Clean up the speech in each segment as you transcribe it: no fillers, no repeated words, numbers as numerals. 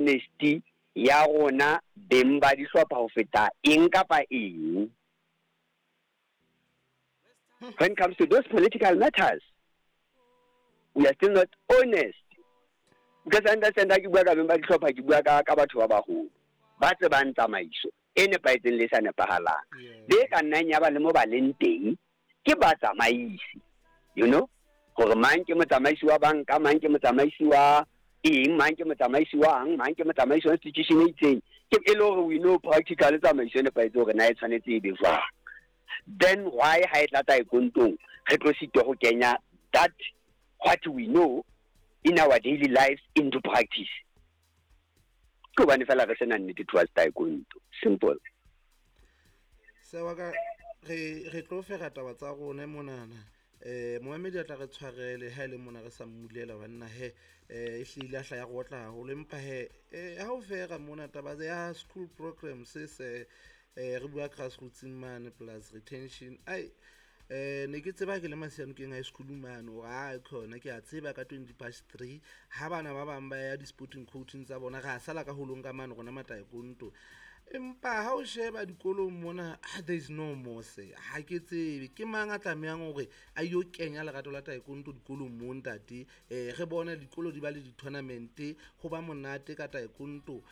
Honesty ya rona beng ba dihlopha ho feta eng kapa eng. When it comes to those political matters, we are still not honest. Because I understand ha ke bua ka beng ba dihlopha, ke bua ka ka batho ba baholo ba tsebang tsamaiso e nepahetseng le e sa nepahalang. Be ka nnang ya ba le mo ba leng teng ke batsamaisi, you know, hore mang ke motsamaisi wa banka, mang ke motsamaisi wa eng, mang ke motsamaisi wang, mang ke motsamaisi wa institution e itseng. Ke e le hore we know practical tsamaiso e nepahetse hore na e tshwanetse e be jwang. Then why ha e tla taekwondong re tlo sitwa ho kenya that what we know in our daily lives into practice? Ke hobane fela re sena nnete towards taekwondo. Simple. Sewa ka re re tlo fera taba tsa rona monana. Momamedi a tla re tshwarele ha e le mona re sa mmulela banna he, e hlile a hla ya re otla haholo, empa he, ha o fera mona taba ya school program se se, re bua grassroots mane plus retention. Ai, ne ke tseba ke le Masianokeng High School mane hore a khona ke a tseba ka 3:20 ha bana ba bang ba ya di-sporting coaching tsa bona, ra sala ka holong ka mane rona mataekonto. Empa ha o sheba dikolong mona, there is no more se. Ha ke tsebe ke mang a tlamehang hore a yo kenya lerato la taekwondo dikolong mo ntate. Re bone dikolo di ba le di-tournament, ho ba monate ka taekwondo.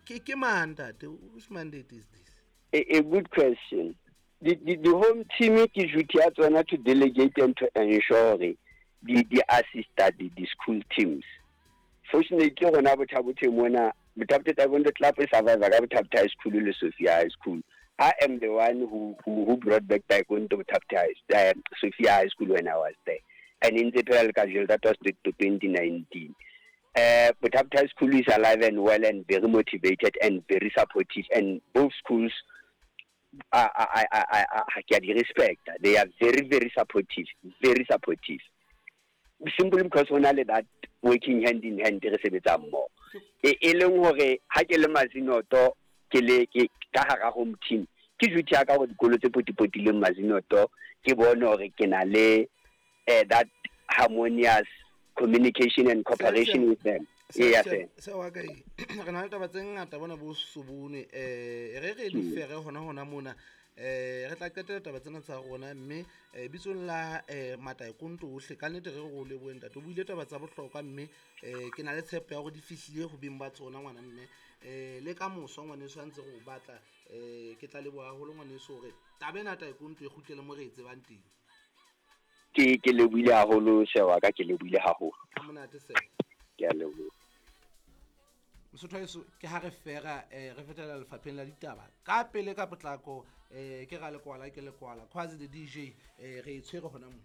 Ke mang ntate? Which mandate is this? A good question. The home team ke duty ya tsona to delegate and to ensure hore di assista the school teams. Fortunately rona Botha-Bothe mona, Botha-Bothe Taekwondo Club e survive ka Botha-Bothe High School le Sophia High School. I am the one who brought back Taekwondo Botha-Bothe High, Sophia High School when I was there. And in the phela le kajeno, that was to 2019. Botha-Bothe High School is alive and well and very motivated and very supportive, and both schools I ke a di respect. They are very, very supportive, very supportive. Simply because ho na le that working hand in hand re sebetsa mmoho. E leng hore ha ke le Mazinoto, ke le ke ka hara home team, ke duty ya ka hore dikolo tse potipotileng Mazinoto ke bone hore ke na le that harmonious communication and cooperation with them. Eya, sir. Se wa ka e re na le taba tse ngata bona bo sobone, re re di fere hona hona mona, re tla qetela taba tsena tsa rona, mme bitsong la mataekonto ohle ka nnete re re o lebohe ntate, o buile taba tsa bohlokwa, mme ke na le tshepo ya hore di fihlile ho beng ba tsona ngwana mme, le ka moso ngwaneso ha ntse re o batla, ke tla leboha haholo ngwaneso hore taba ena taekonto e kgutlele mo re e tsebang teng. Ke lebohile haholo sewa ka, ke lebohile haholo. Ha monate se. Ke a leboha. Mosotho heso ke ha re fera, re fetela lefapheng la ditaba ka pele ka potlako, ke ra lekwala ke lekwala Quasi the DJ, re e tshwere hona mo.